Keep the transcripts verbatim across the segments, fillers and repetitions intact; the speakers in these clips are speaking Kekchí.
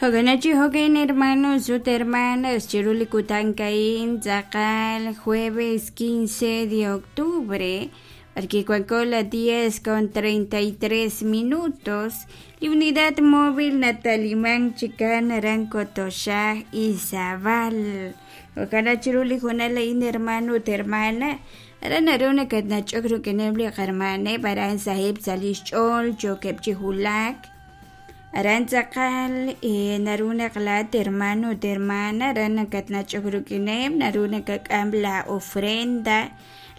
Jo'kanachi jo'kan hermanos ut hermanas chiru li kutan a'in tz'aqal jueves quince de octubre b'arki wanko la diez con treinta y tres minutos li unidad móvil nataliman chikan aran Kotoxaj Izabal jo'kan chiru li hoonal a'in hermano ut hermana aran naru nakatnach'ok rik'ineb' li qahermaneb' aran saheb' sa' li xch'ool yookeb' chi wulak aran tz'aqal naru naq laa'at hermano ut hermana aran nakatnach'ok rik'ineb' naru nakak'am la ofrenda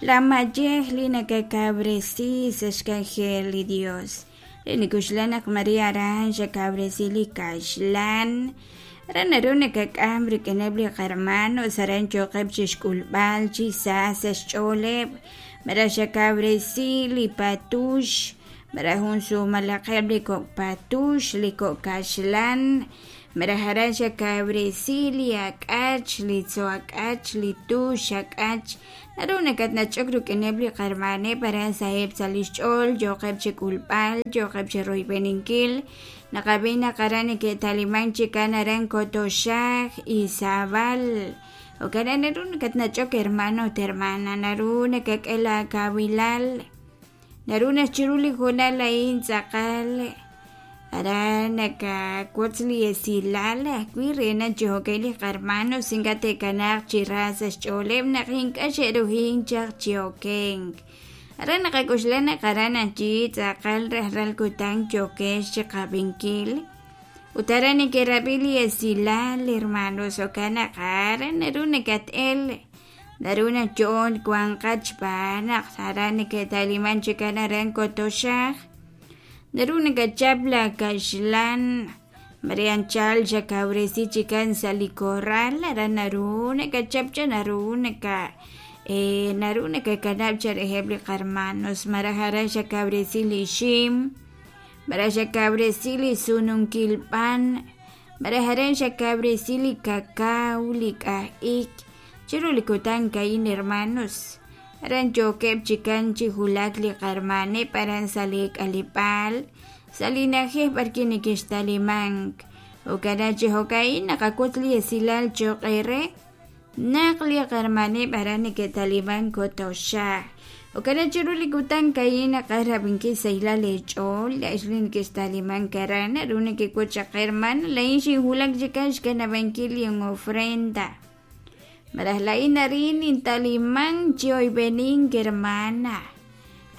la mayej li nakakawresi sa' xk'anjel li Dios re nikuxlan naq Maria aran xakawresi li kaxlan aran naru nakak'am rik'ineb' li qahermanos aran yooqeb' chixk'ulb'al chi sa sa' xch'ooleb' malaj xakawresi li patux malaj jun sumalaqeb' li kok' patux li kok' kaxlan malaj aran xakawresi li ak'ach li tzo' ak'ach li tux ak'ach naru nakatnach'ok rik'ineb' li qahermaneb' aran saheb' sa' li xch'ool yooqeb' chik'ulb'al yooqeb' chiroyb'eninkil naqab'i naq aran neke'taliman chikan aran Kotoxaj Izabal jo'kan naru nakatnach'ok hermano ut hermana naru nakak'e la kawilal naru naq chiru li hoonal a'in tz'aqal aran nakawotz li esilal ajwi' re naq chi jo'kan li qahermanos ink'a' te'kanaaq chi ra sa' xch'ooleb' naq ink'a' xe'ruhin chaq chi okenk aran naqak'oxla naq aran achi tz'aqal rajlal kutan yookex chiqab'inkil ut aran neke'rab'i li esilal hermanos jo'kan naq aran naru nakat'el naru naq yo'on wanqat xb'aan naq aran neke'taliman chikan aran Kotoxaj naru nakachap la kaxlan Maria anchal xakawresi chikan sa' li corral aran naru nakachap cha naru naka eh, naru nakakanab' cha reheb' li qahermanos malaj aran xakawresi li ixim malaj xakawresi li sununkil b'an malaj aran xakawresi li cacao li k'aj'ik chiru li kutan a'in hermanos aran yookeb' chikan chi wulak li qahermaneb' aran sa' li k'aleb'aal sa' li na'ajej b'arki neke'xtalimank jo'kan chi jo'ka'in naqawotz li esilal cho'q eere naq li qahermaneb' aran neke'taliman Kotoxaj jo'kan chiru li kutan a'in naqaj rab'inkil sahilal eech'ool la'ex li neke'xtalimank aran naru nekewotz chaq hermana la'in xinwulak chikan xkanab'ankil li ofrenda malaj la'in arin intaliman chi oyb'enink hermana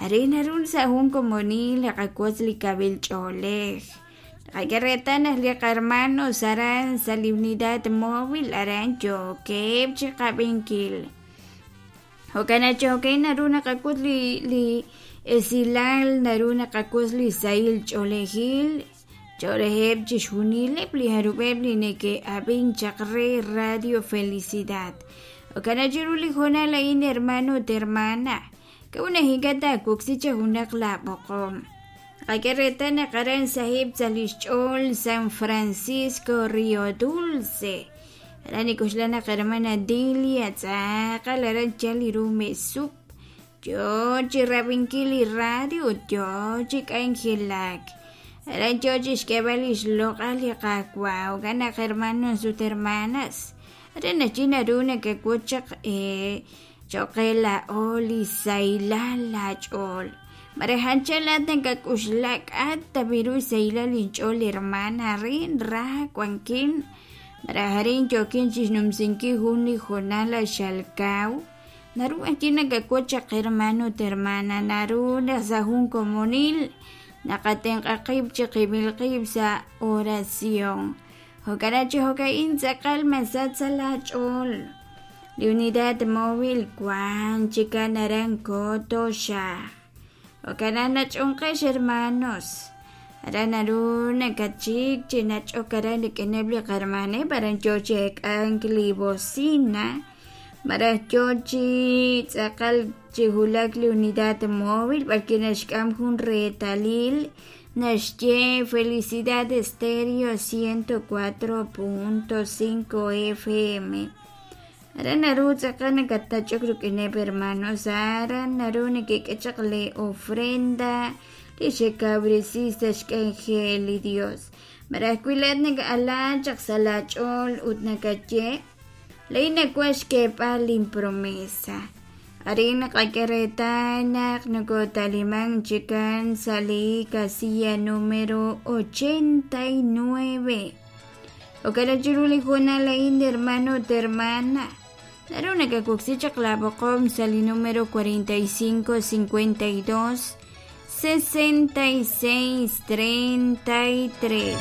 arin naru sa' jun komonil naqawotz li kawil ch'oolej naqak'e reetal naq li qahermanos aran sa' li unidad móvil aran yookeb' chiqab'inkil jo'kan chi jo'kan naru naqawotz li li esilal naru naqawotz li sahil ch'oolejil cho'reheb' chixjunileb' li jarub'eb' li neke'ab'in chaq re Radio Felicidad jo'kan chiru li hoonal a'in hermano ut hermana k'a'ut naq ink'a' taawoksi cha junaq laab'oqom naqak'e reetal naq aran sahib' sa' li xch'ool San Francisco Río Dulce aran nik'oxla naq hermana Dilia tz'aqal aran chal li ru mesup yoo chi rab'inkil li radio ut yoo chi k'anjelak aran yoo chi xk'eeb'al li xloq'al li Qaawa' jo'kan naq hermanos ut hermanas aran nachi naru nakawotz chaq eh, cho'q qe laa'o li sahilal laach'ool malaj anchal laa'at nakak'uxla k'at tabiru sahilal inch'ool hermana arin ra wankin malaj arin yookin chixnumsinkil jun li hoonal xalkaw naru achi nakawotz chaq hermano ut hermana naru naq sa' jun komonil naqatenq'a qib' chiqib'il qib' sa' oración jo'kan chi jo'ka'in tz'aqal masach sa' laach'ool li unidad móvil wan chikan aran Kotoxaj jo'kan nach'onqex hermanos aran naru nakachik chi nach'ok aran rik'ineb' li qahermaneb' aran yoo chi ek'ank li bocina malaj yoo chi tz'aqal chi wulak li unidad móvil b'arki naxk'am jun reetalil naxye Felicidad Estéreo ciento cuatro punto cinco F M aran naru tz'aqal nakatach'ok rik'ineb' hermanos aran naru nekek'e chaq li ofrenda li xekawresi sa' xk'anjel li Dios. Malaj wi laa'at naka'ala chaq sa' laach'ool ut nakaye laa'in nawaj xk'eeb'al linpromesa. Arin naqak'e reetal naq nokotaliman chikan sa' li casilla número ochenta y nueve. Jo'kan chiru li hoonal a'in, hermano ut hermana, naru nakawoksi chaq laab'oqom sa' li número cuarenta y cinco cincuenta y dos sesenta y seis treinta y tres.